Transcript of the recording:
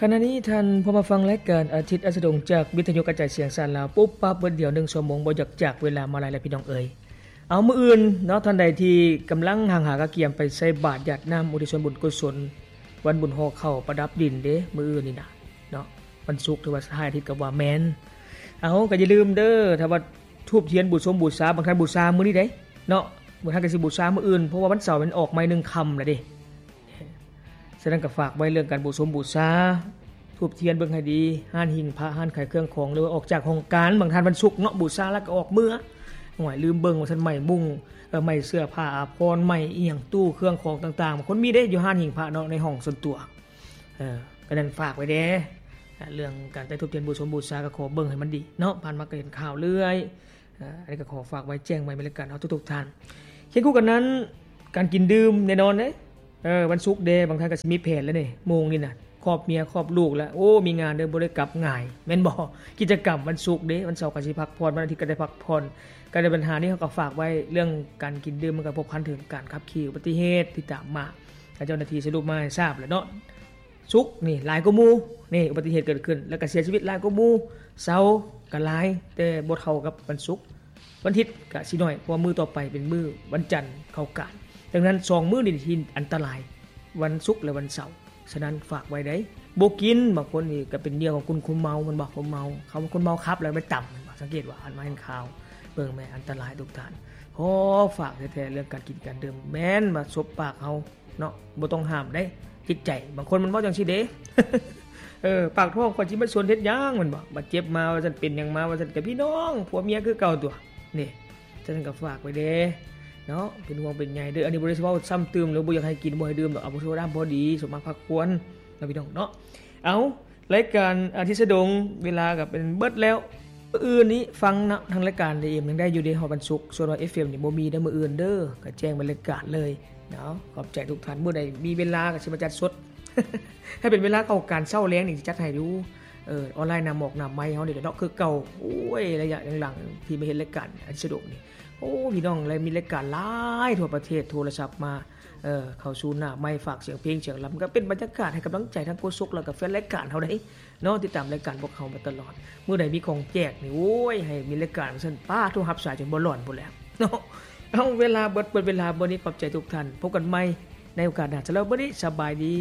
ຂະນະນີ້ທ່ານພໍມາຟັງລາຍການອາທິດອັສດງ ຈາກວິທະຍຸກະຈາຍສຽງສານລາວ ປຸບປັບເບິດດຽວໜຶ່ງຊົ່ວໂມງ ບໍ່ຢາກຈາກເວລາມາຫຼາຍແລ້ວພີ່ນ້ອງເອີຍ. ເອົາ ມື້ອື່ນເນາະ ທ່ານໃດທີ່ກຳລັງຫາງຫາກະກຽມໄປໃສ່ບາດຢາດນ້ຳ ອຸທິດສ່ວນບຸນກຸສົນ ວັນບຸນຫໍ່ເຂົ້າປະດັບດິນເດ້ ມື້ອື່ນນີ້ນະເນາະ ວັນສຸກ ຫຼືວ່າທ້າຍອາທິດກໍວ່າແມ່ນ. ເອົາ ກໍຢ່າລືມເດີ ຖ້າວ່າທູບທຽນບູຊົງບູຊາ ບາງທ່ານບູຊາມື້ນີ້ເດ້ເນາະ ບາງທ່ານກໍຊິບູຊາມື້ອື່ນ ເພາະວ່າວັນເສົາມັນອອກໃໝ່ໜຶ່ງຄ່ຳແລ້ວເດ້. ສະນັ້ນກໍຝາກໄວ້ເລື່ອງການບູຊົງບູຊາ ທູບທຽນເບິ່ງໃຫ້ດີ ຮ້ານຫິ້ງພະ ຮ້ານຂາຍເຄື່ອງຂອງ ຫຼືວ່າອອກຈາກຫ້ອງການ ບາງທ່ານວັນສຸກເນາະ ບູຊາແລ້ວກໍອອກເມືອ ໂອ້ຍ ລືມເບິ່ງວ່າຊັ້ນ ໄໝ້ມຸ້ງ ເອີ ໄໝ້ເສື້ອຜ້າອາພອນ ໄໝ້ອີ່ຫຍັງ ຕູ້ເຄື່ອງຂອງຕ່າງໆ ບາງຄົນມີເດ້ຢູ່ຮ້ານຫິ້ງພະເນາະ ໃນຫ້ອງສ່ວນຕົວ. ເອີ ກໍນັ້ນຝາກໄວ້ແດ່ ເລື່ອງການໄຕ້ທູບທຽນບູຊົງບູຊາ ກໍຂໍເບິ່ງໃຫ້ມັນດີເນາະ ຜ່ານມາກໍເຫັນຂ່າວເລື້ອຍ. ເອີ ອັນນີ້ກໍຂໍຝາກໄວ້ແຈ້ງໄວ້ແມ່ນລະກັນເນາະ ທຸກໆທ່ານ. ຄຽງຄູ່ກັນນັ້ນ ການກິນດື່ມແນ່ນອນເດ້ ເອີ ວັນສຸກເດ້ ບາງທ່ານກໍຊິມີແຜນແລ້ວນີ້ ໂມງນີ້ນະ ຄອບເມຍຄອບລູກແລ້ວ ໂອ້ ມີງານເດີ ບໍ່ໄດ້ກັບງ່າຍ ແມ່ນບໍ່? ກິດຈະກຳວັນສຸກເດ້ ວັນເສົາກໍຊິພັກຜ່ອນ ວັນອາທິດກໍໄດ້ພັກຜ່ອນ. ກໍໃນບັນຫານີ້ເຮົາກໍຝາກໄວ້ ເລື່ອງການກິນດື່ມ ມັນກໍພົວພັນເຖິງການຂັບຂີ່ ອຸບັດຕິເຫດທີ່ຕາມມາ ເຈົ້າໜ້າທີ່ສະຫຼຸບມາໃຫ້ຊາບແລ້ວເນາະ. ສຸກນີ້ຫຼາຍກວ່າໝູ່ ນີ້ອຸບັດຕິເຫດເກີດຂຶ້ນ ແລ້ວກໍເສຍຊີວິດຫຼາຍກວ່າໝູ່. ເສົາກໍຫຼາຍ ແຕ່ບໍ່ເທົ່າກັບວັນສຸກ. ວັນທິດກະຊິໜ້ອຍ ເພາະວ່າມື້ຕໍ່ໄປເປັນມື້ວັນຈັນເຂົ້າການ. ດັ່ງນັ້ນ ສອງມື້ນີ້ທີ່ອັນຕະລາຍ ວັນສຸກ ແລະ ວັນເສົາ. ສະນັ້ນຝາກໄວ້ໃດ໋ ບໍ່ກິນ. ບາງຄົນນີ້ກະເປັນເຫຍື່ອຂອງກຸ່ມຄົນເມົາ ແມ່ນບໍ່? ຄົນເມົາ ເຂົາຄົນເມົາຂັບແລ້ວໄປຕຳ ແມ່ນບໍ່? ສັງເກດວ່າ ອັນມາເຫັນຂ່າວ ເບິ່ງແມ້ ອັນຕະລາຍທຸກທ່ານ. ໂອ້ ຝາກແທ້ໆ ເລື່ອງການກິນການດື່ມ ແມ່ນວ່າສົບປາກເຮົາເນາະ ບໍ່ຕ້ອງຫ້າມໃດ໋ ຈິດໃຈ. ບາງຄົນມັນເວົ້າຈັ່ງຊີ້ເດ້ ເອີ ປາກທ້ອງຂ້ອຍຊິມາຊົນເຮັດຫຍັງ ແມ່ນບໍ່? ບາດເຈັບມາວ່າຊັ້ນ ເປັນຫຍັງມາວ່າຊັ້ນ ກະພີ່ນ້ອງຜົວເມຍຄືເກົ່າຕົວະ ນີ້. ສະນັ້ນກໍຝາກໄວ້ແດ່ເນາະ ເປັນຫ່ວງເປັນໃຍເດີ. ອັນນີ້ບໍ່ໄດ້ເວົ້າຊ້ຳຕື່ມ ຫຼືບໍ່ຢາກໃຫ້ກິນບໍ່ໃຫ້ດື່ມດອກ ເອົາພໍໂຊດາພໍດີ ສົມມາພັກຜ່ອນເນາະ ພີ່ນ້ອງເນາະ. ເອົາ ລາຍການອາທິດສະດົງ ເວລາກໍເປັນເບິດແລ້ວ. ມື້ອື່ນນີ້ຟັງເນາະ ທາງລາຍການເອເອັມຍັງໄດ້ຢູ່ເດ້ ຮອດວັນສຸກ. ສ່ວນວ່າເອັຟເອັມນີ້ບໍ່ມີເດີມື້ອື່ນເດີ ກໍແຈ້ງບັນຍາກາດເລີຍເນາະ. ຂອບໃຈທຸກທ່ານ ມື້ໃດມີເວລາກໍຊິມາຈັດສົດ ຖ້າເປັນເວລາເຂົ້າການເຊົ້າແລງນີ້ຊິຈັດໃຫ້ຢູ່ ເອີ ອອນລາຍ ໜ້າໝອກໜ້າໄມເຮົານີ້ແຫຼະເນາະ ຄືເກົ່າ. ໂອ້ຍ ໄລຍະຫຼັງໆທີ່ມາເຮັດລາຍການອາທິດສະດົງນີ້ ໂອ້ ພີ່ນ້ອງ ແລະ ມີລາຍການຫຼາຍທົ່ວປະເທດໂທລະສັບມາ ເອີ ເຂົ້າສູ່ໜ້າໄມ ຝາກສຽງເພງສຽງລຳ ກໍເປັນບັນຍາກາດໃຫ້ກຳລັງໃຈທັງໂຄສົກ ແລ້ວກໍແຟນລາຍການເຮົາເດ້ເນາະ ຕິດຕາມລາຍການພວກເຮົາມາຕະຫຼອດ. ມື້ໃດມີຂອງແຈກນີ້ ໂອ້ຍ ໃຫ້ມີລາຍການວ່າຊັ້ນ ປ້າ ໂທຮັບສາຍຈົນບໍ່ຫຼອນພຸ້ນແຫຼະເນາະ. ເອົາ ເວລາເບິດ ເບິດເວລາເບິດນີ້ ຂອບໃຈທຸກທ່ານ ພົບກັນໃໝ່ໃນໂອກາດໜ້າ. ສຳລັບມື້ນີ້ ສະບາຍດີ.